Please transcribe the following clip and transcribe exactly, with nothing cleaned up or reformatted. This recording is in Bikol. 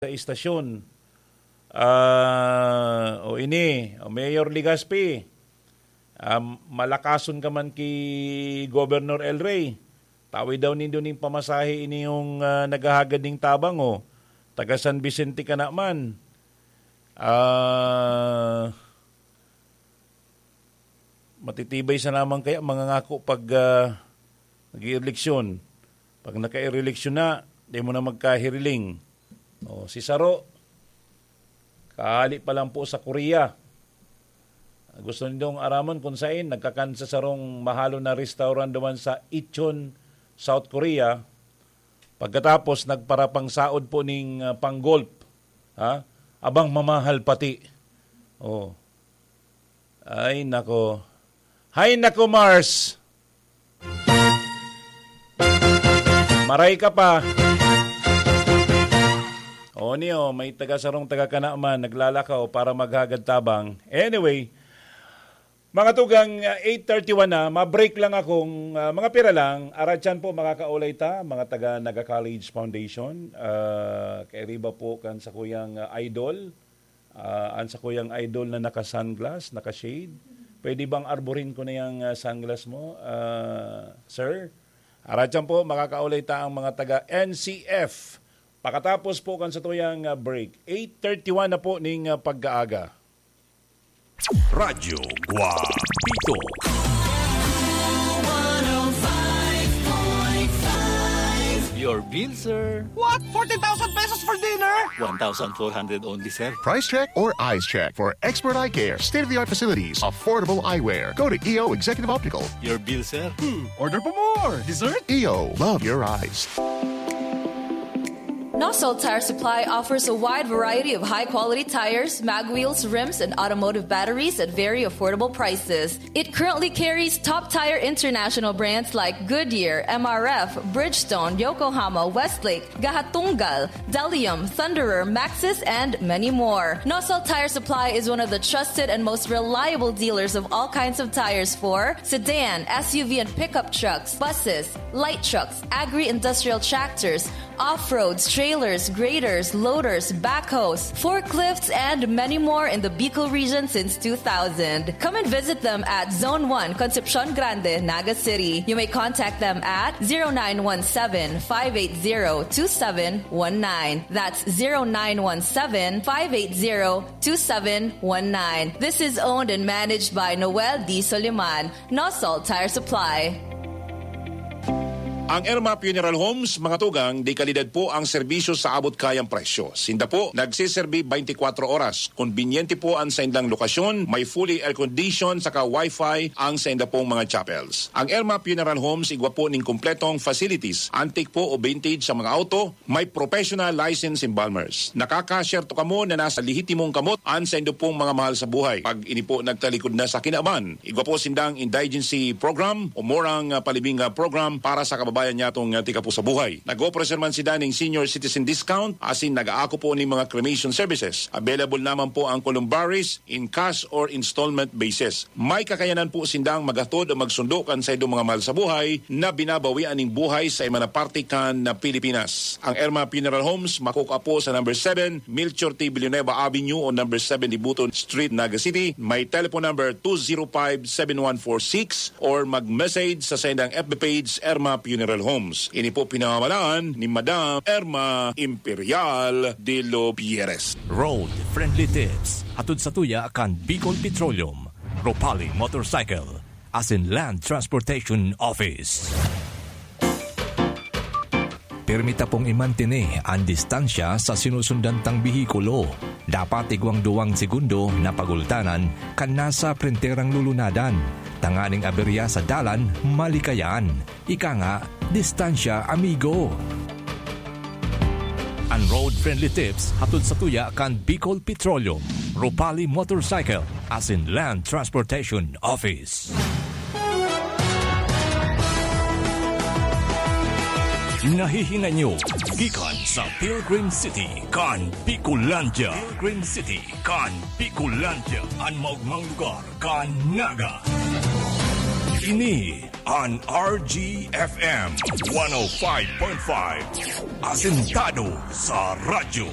sa istasyon. Ah, o ini, o Mayor Legaspi, ah, malakason ka man ki Governor El Rey. Tawi daw nindo ning pamasahe ini yung, ah, naghahagad ning tabang, o. Taga San Vicente ka na man. Ah, matitibay sa naman kaya mangangako pag, ah, nag-ieleksyon. Pag naka-eleksyon na, di mo na magkahiriling. O, si Saro, kahali pa lang po sa Korea. Gusto nindong araman kung sain, nagkakan sa sarong mahalon na restaurant duman sa Incheon, South Korea. Pagkatapos, nagparapang saod po ning, ah, pang-golf. Ha? Abang mamahal pati. Oh. Ay, nako. Hay, nako, Mars! Maray ka pa. O, niyo, may taga-sarong taga-kana man, naglalakaw para maghagad tabang. Anyway, mga tugang, ah, eight thirty-one na, ma-break lang akong, ah, mga pira lang. Aratyan po, makakaulay ta, mga taga Naga College Foundation. Ah, kairiba po kan sa kuyang, ah, idol. Ah, an sa kuyang idol na naka-sunglass, naka-shade. Pwede bang arborin ko na yung, ah, sunglass mo, ah, sir? Aratyan po, makakaulay ta ang mga taga N C F. Pakatapos po kan sa tuyang, ah, break. Eight thirty-one na po ning, ah, pagkaaga. Radyo Guapito. Your bill, sir. What? Fourteen thousand pesos for dinner? One thousand four hundred only, sir. Price check or eyes check for expert eye care, state-of-the-art facilities, affordable eyewear. Go to E O Executive Optical. Your bill, sir. Hmm, order pa more. Dessert? E O, love your eyes. Nosol Tire Supply offers a wide variety of high-quality tires, mag wheels, rims, and automotive batteries at very affordable prices. It currently carries top tire international brands like Goodyear, M R F, Bridgestone, Yokohama, Westlake, Gahatunggal, Delium, Thunderer, Maxxis, and many more. Nosol Tire Supply is one of the trusted and most reliable dealers of all kinds of tires for sedan, S U V, and pickup trucks, buses, light trucks, agri-industrial tractors, off-roads, trailers, graders, loaders, backhoes, forklifts, and many more in the Bicol region since two thousand. Come and visit them at Zone one, Concepcion Grande, Naga City. You may contact them at zero nine one seven, five eight zero, two seven one nine. That's zero nine one seven, five eight zero, two seven one nine. This is owned and managed by Noel D. Soliman, Nosol Tire Supply. Ang Erma Funeral Homes, mga tugang, de kalidad po ang serbisyo sa abot kayang presyo. Sinda po nagseserbi twenty-four oras. Konbinyente po ang saindang lokasyon, may fully air-conditioned saka wifi ang sainda pong mga chapels. Ang Erma Funeral Homes igwa po ning kompletong facilities, antique po o vintage sa mga auto, may professional license embalmers. Nakakasyerto kamo na nasa lehitimong kamot an saindo pong mga mahal sa buhay. Pag ini po nagtalikod na sa kinaban, igwa po sindang indigency program o murang, ah, palibing, ah, program para sa kababayan nyatong, ah, tika po sa buhay. Nag-offer man sinda ning senior citizen discount, asin nag-aako po ning mga cremation services. Available naman po ang columbaries in cash or installment basis. May kakayanan po sindang maghatod o magsundo kan saindong mga mahal sa buhay na binabawian ning buhay sa iba na parte kan na Pilipinas. Ang Erma Funeral Homes makukua po sa number seven, Melchor T. Villanueva Avenue o number seven, Dibuton Street, Naga City. May telephone number two zero five, seven one four six or mag-message sa saindang F B page, Erma Funeral Homes. Ini po pinamamalaan ni Madam Erma Imperial de los Pierres. Road Friendly Tips, hatod sa tuya kan Bicol Petroleum, Ropali Motorcycle, asin Land Transportation Office. Pirmi ta pong imantene an distansya sa sinusundan tang behikulo. Dapat igwang duwang segundo na pagultanan kan nasa prenterang lulunadan, tanganing aberya sa dalan malikayan. Ika nga, distansya, amigo. An Road Friendly Tips hatod sa tuya kan Bicol Petroleum, Ropali Motorcycle, asin Land Transportation Office. Nahihinay nyo gikan sa Pilgrim City kan Bicolandia. Pilgrim City kan Bicolandia, an maogmang lugar kan Naga. Ini an R G F M one oh five point five, asentado sa radyo.